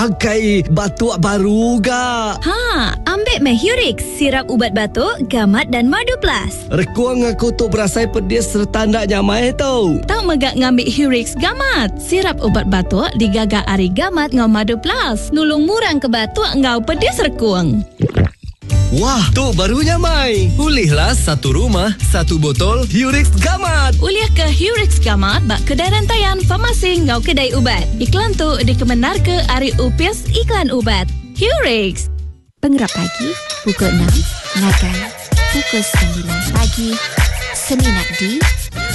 Akai batuk baru ga. Ha, ambik meh Hurix, sirap ubat batuk, gamat dan madu plus. Rekung aku tu berasai pedis sereta enda nyamai tu. Tau mega ngambi Hurix Gamat, sirap ubat batuk digaga ari gamat enggau madu plus, nulung ngurangka batuk enggau pedis rekung. Wah, tu baru nyamai. Ulihlah satu rumah, satu botol Hurix Gamat. Ulih ke Hurix Gamat ba kedai rantaian farmasi enggau kedai ubat. Iklan tu dikemendarka ari Opis Iklan Ubat. Hurix. Pengerap pagi pukul 6 ngagai pukul 9 pagi semina di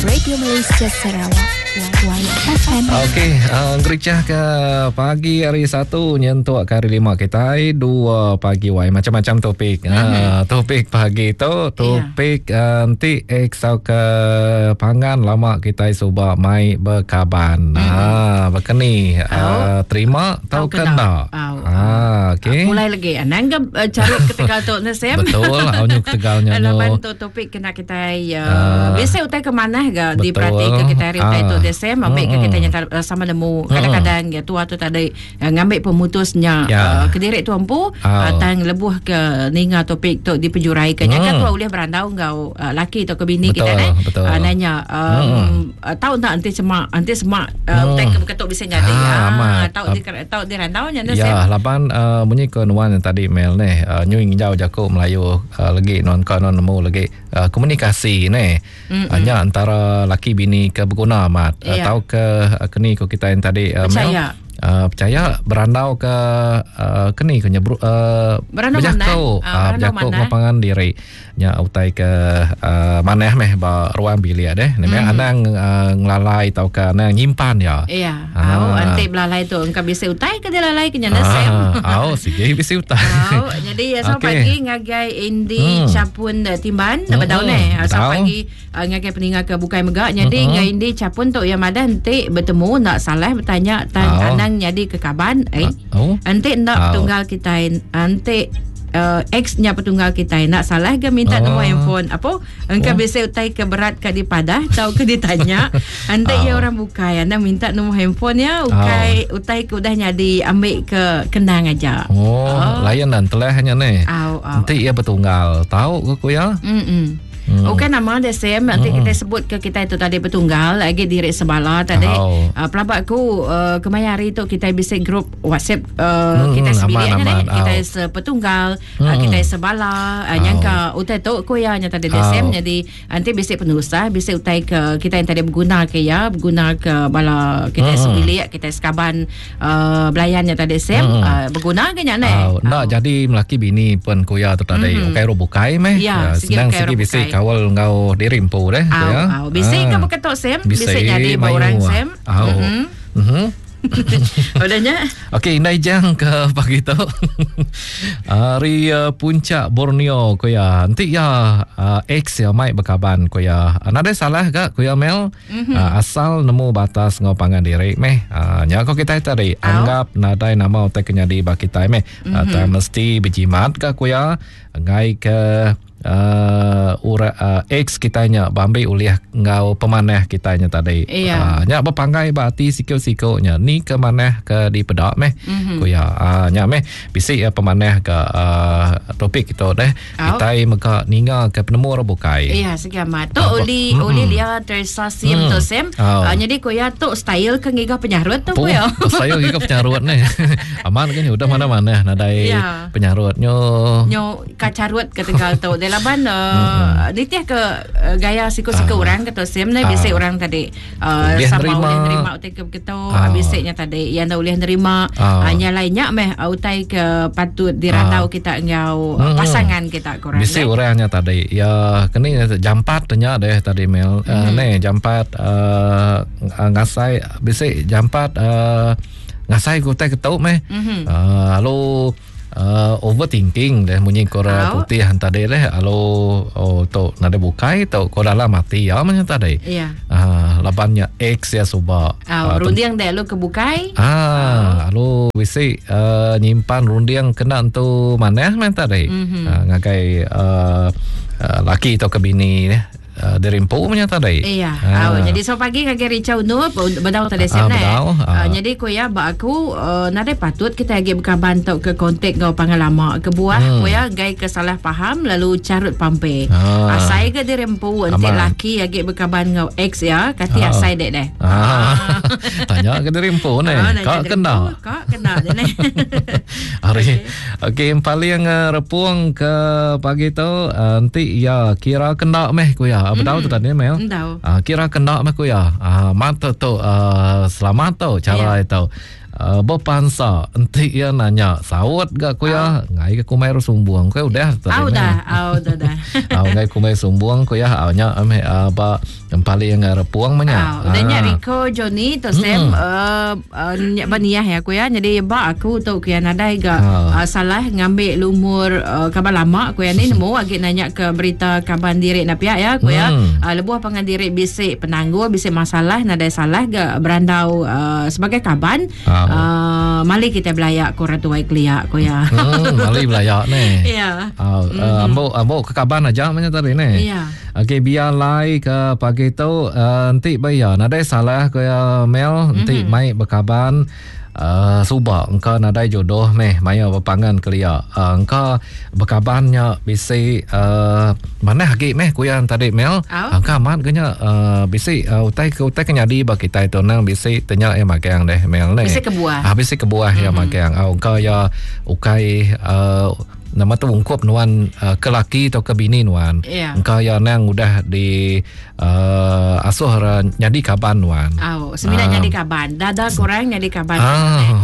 Radio Malaysia Sarawak YFM. Okey, uh, ngericah ke pagi hari Satu nyentuk ke hari Lima kitai dua pagi wai macam-macam topik. Mm-hmm. Uh, topik pagi tu topik yeah. uh, enti ex ke pangan lama kitai suba mai bekaban. Mm-hmm. Uh, bekeni uh, terima tau ke enda. Ah, okey. Mulai lagi. Anang ke uh, carut ketegal tu ne Sam. Betul, au nyu ketegal nya. Laban tu topik kena kitai uh, uh, biasa utai ke manah ga diperati ke kitai hari utai tu Sam, ambil ke kitai nyata uh, sama nemu. Kadang-kadang ya tua tu tadi uh, ngambil pemutusnya yeah. uh, kediri tu empu uh, tang lebuh ke ninga topik tu dipejurai ke nya kan tua ulih berandau enggau uh, laki atau ke bini kita ne uh, nanya um, uh, tau tak enti semak enti semak uh, utai ke beketuk bisa nyadi ah, tau di tau dirandau nya ne Ya laban uh, munyi ke nuan yang tadi Mel ne uh, nyu nginjau jaku Melayu uh, legi nuan ka nuan nemu legi uh, komunikasi ne uh, nya antara laki bini ke beguna amat uh, tau ke uh, keni ko kita yang tadi uh, Mel uh, percaya berandau ke uh, keni ko nya uh, bejaku uh, bejaku ngapangan diri Nya utai ke uh, manah meh ba ruang bilik deh. Ni mm. anang uh, ngelalai tauka anang nyimpan ya. Iya. Ha. Au enti belalai tu engka bisi utai ke dilalai ke nya ah, Sam. Au sigi bisi utai. Au jadi ya selamat okay. pagi ngagai Indi hmm. Capun eh, Timban hmm. bedau ne. Ah, selamat pagi uh, ngagai peninga ke bukai mega. Jadi hmm. ngagai Indi Capun tu ya madah enti betemu nak salah bertanya tan oh. anang nyadi ke kaban eh. Oh. Enti enda petunggal kitai enti uh, ex nya petunggal kitai enda salah ke minta oh. nombor handphone apa engka oh. bisi utai ke berat ka dipadah tau ke ditanya enti oh. ya orang bukai anda minta nombor handphone ya ukai oh. utai ke udah nyadi ambil ke kenang aja oh, oh. lain dan telah nya ni oh, oh. enti ya betunggal tau ke ku ya mm Ukai nama dia Sam nanti kita sebut ke kita itu tadi betunggal lagi diri sebala tadi. Oh. Pelabak aku kemaya hari tu kita bisa grup WhatsApp kita sebilik aman, nya aman. kita sepetunggal kita sebala nyangka utai tu ku iya nya tadi dia Sam jadi nanti bisa penusah bisa utai ke kita yang tadi berguna ke iya berguna ke bala kita sebilik kita sekaban uh, belayan nya tadi Sam hmm. uh, berguna ke nya ne uh, enda jadi melaki bini pun ku iya tu tadi hmm. ukai ro bukai meh ya, uh, senang sigi bisi kawal enggau diri empu deh ku ya bisi ke beketok Sam bisi nyadi ba orang Sam au mhm Udah nya. Okey, indai jang ke pagi tu. Hari uh, puncak Borneo ku ya. Enti ya uh, ex ya mai bekaban ku ya. Nadai salah ga ku ya Mel. Mm-hmm. Uh, asal nemu batas ngau pangan diri meh. Uh, nya ko kitai tadi Au. anggap nadai nama utai ke nyadi ba kitai meh. Mm-hmm. Uh, tang mesti bejimat ka ku ya ngai ke uh, ura, uh, ex kitai nya bambi ulih enggau pemanah kitai nya tadi. Iya. Uh, nya bepanggai ba ati siku-siku nya ni ke manah ke dipeda meh. Mm-hmm. Ku ya. Uh, nya meh bisi uh, pemanah ke uh, topik kita deh. Kitai mega ninga ke penemu orang bukai. Iya, segi amat. Tu oli mm oli lia Teresa Sim mm. tu Sim. Oh. Uh, jadi ko ya tu style ke ngiga penyarut tu ko ya. Style ngiga penyarut ni. Aman ke ni udah mana-mana nadai ya. penyarut nyo. Nyo kacarut ke tegal tu. Dia laban uh, nitih ke uh, gaya siku-siku uh. orang ke tu Sim ni bisi uh. orang tadi uh, ulih sama nerima. ulih nerima utai ke begitu uh. bisi nya tadi yang enda ulih nerima uh. uh, nya lain nya meh uh, utai ke patut dirandau uh. kita enggau uh, pasangan kita korang bisi eh? orang nya tadi ya keni jampat nya deh tadi Mel uh, hmm. ne jampat uh, ngasai bisi jampat uh, ngasai ke utai ketu meh mm-hmm. uh, lalu Uh, overthinking deh munyi ko orang putih tadi deh lalu oh tu nadai bukai tu ko dalam ati ya macam tadi yeah. uh, laban nya ex ya suba uh, runding deh lu ke bukai ah lalu bisi uh, nyimpan runding kena entu manah man tadi mm-hmm. uh, ngagai uh, uh, laki atau ke bini deh. uh, diri empu punya tadi. Iya. Uh. Oh, jadi so pagi ngagai Richard Unu bedau tadi sem uh, bedau. Uh. Jadi ku ya ba aku uh, nadai patut kita agi bekaban tau ke kontak ngau pangan lama ke buah ku ya gai ke salah faham lalu carut pampe. Asai ke diri empu enti laki agi bekaban ngau ex ya kati asai dek deh. Ah. Tanya ke diri empu ne. Ka kena. Ka kena deh ne. Ari. Okey paling uh, repung ke pagi tu uh, enti ya kira kena meh ku ya. Bedau tu tadi meh. Uh, kira kena meh ku ya. Uh, mat tu, tu uh, selamat tu cara yeah. itu. Uh, berpansa enti iya nanya saut ga ku ya ngai ke kumai ru sumbung ku udah tu. Au dah, au dah dah. Au ngai kumai sumbung ku ya au nya meh uh, ba yang paling repung meh nya. Udah nya Rico Johnny tu Sam uh, uh, nya ba niah ya ku ya. Jadi ba aku tu ku ya nadai ga uh, salah ngambil lumur uh, kaban lama ku ya ni nemu agi nanya ke berita kaban diri na pia ya ku ya. Uh, lebuh pangan diri bisi penanggul bisi masalah nadai salah ga berandau uh, sebagai kaban. Uh, mali kita belaya ku orang tuai kelia ku ya. Mali belaya ni. Ya. Uh, uh, ambo ambo ke kaban aja macam tadi ni. Ya. Okey biar lai ke pagi tu uh, enti ba iya nadai salah ku iya Mel enti mm-hmm. mai bekaban uh, suba engka nadai jodoh meh maya bepangan kelia uh, engka bekaban nya bisi uh, manah agi meh ku iya tadi Mel uh, engka amat ke nya uh, bisi uh, utai ke utai ke nyadi ba kitai tu nang bisi tenya iya magang deh Mel ne bisi kebuah uh, bisi kebuah mm-hmm. iya magang uh, engka iya ukai uh, Nama tu ungkup nuan uh, ke laki atau ke bini nuan. Yeah. Engka iya nang udah di uh, asuh ra nyadi kaban nuan. Au, semina uh. nyadi kaban. Dada kurang nyadi kaban. Ah.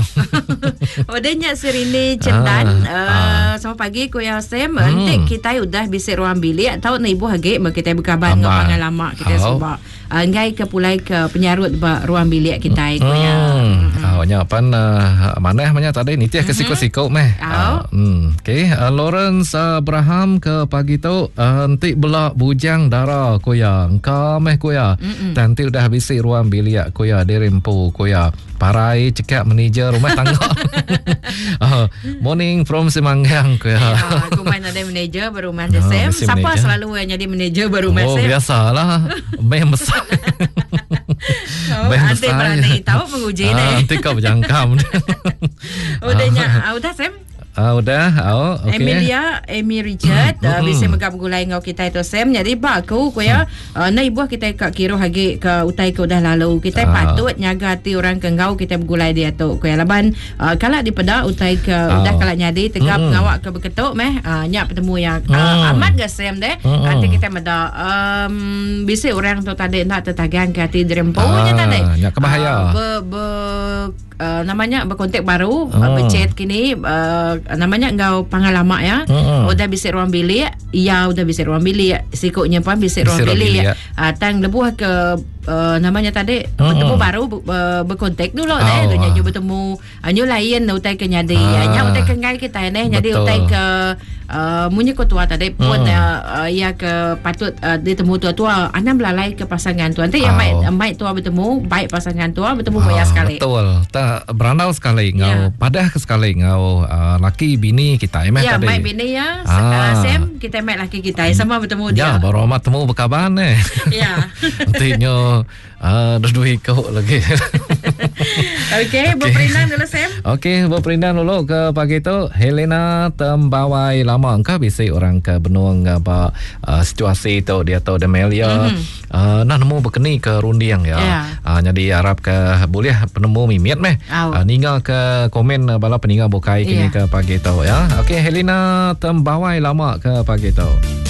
Udah nya Sirini Cendan, uh. Uh, selamat pagi ku ya Sam. Enti kita udah bisi ruang bilik tau na ibuh agi me kita bekaban enggau pangan lama kita suba. Enggai ke pulai ke penyarut ba ruang bilik kitai ku iya. Hmm. Oh nya pan uh, manah menya tadi nitih ke siku-siku meh. Uh, Okey, uh, Lawrence Abraham ke pagi tu uh, enti bela bujang dara ku iya. Engka meh ku iya. Tang enti udah bisi ruang bilik ku iya diri empu ku iya. Parai cekak manager rumah tangga. uh, morning from Simanggang ku ya. Ya, aku main ada manager ba rumah dia Sam. Siapa selalu yang jadi manager ba rumah oh, Sam? Oh, biasalah. Meh besar. Oh, Meh besar. Nanti tahu menguji ni. Nanti kau berjangkam. Udah nya, udah Sam. Ah udah, oh, okey. Emilia, Amy Richard, uh, bisi mega begulai enggau kitai tu Sam. Jadi ba aku ku ya, uh, enda ibuh kitai ka kiruh agi ke utai ke udah lalu. Kitai uh. patut nyaga ati orang ke enggau kitai begulai diatu ku ya. Laban uh, kala dipeda utai ke uh. udah kala nyadi tegap mm. pengawa ke beketu meh, uh, nya petemu ya. Uh, mm. Amat ga Sam deh. Mm. Ati kitai meda um, bisi orang tu tadi enda tetagang ke ati diri empu uh, nya tadi. Nya ke bahaya. Uh, be, be uh, nama nya berkontak baru oh. uh, berchat kini uh, nama nya enggau pangan lama ya oh. udah bisi ruang bilik ya udah bisi ruang bilik siku nya pun bisi ruang bilik, bilik ya. uh, tang lebuh ke uh, namanya tadi oh. bertemu baru uh, berkontak dulu oh. deh dunya nyu bertemu uh, nyu lain utai ke nyadi ah. nya utai ke ngai kita neh nyadi utai ke uh, munyi ko tua tadi pun hmm. uh, ia ke patut uh, ditemu tua-tua anang belalai ke pasangan tua nanti oh. yang mai mai tua bertemu baik pasangan tua bertemu oh, bayar sekali betul tak berandau sekali ngau yeah. padah ke sekali ngau uh, laki bini kita ya tadi mai bini ya ah. Sam kita mai laki kita sama bertemu dia ya baru amat temu berkaban eh ya nanti nyo Ah, dah dua ikut lagi. Okey, berperindang dulu Sam. Okey, berperindang dulu ke pagi tu. Helena Tembawai lama engkau bisi orang ke benung ba uh, situasi tu dia tu Demelia. Mm-hmm. Uh, nah nemu berkeni ke runding ya. Yeah. Uh, jadi harap ke boleh penemu mimit meh. Uh, ninga ke komen bala peninga bukai kini yeah. ke pagi tu ya. Okey, Helena Tembawai lama ke pagi tu.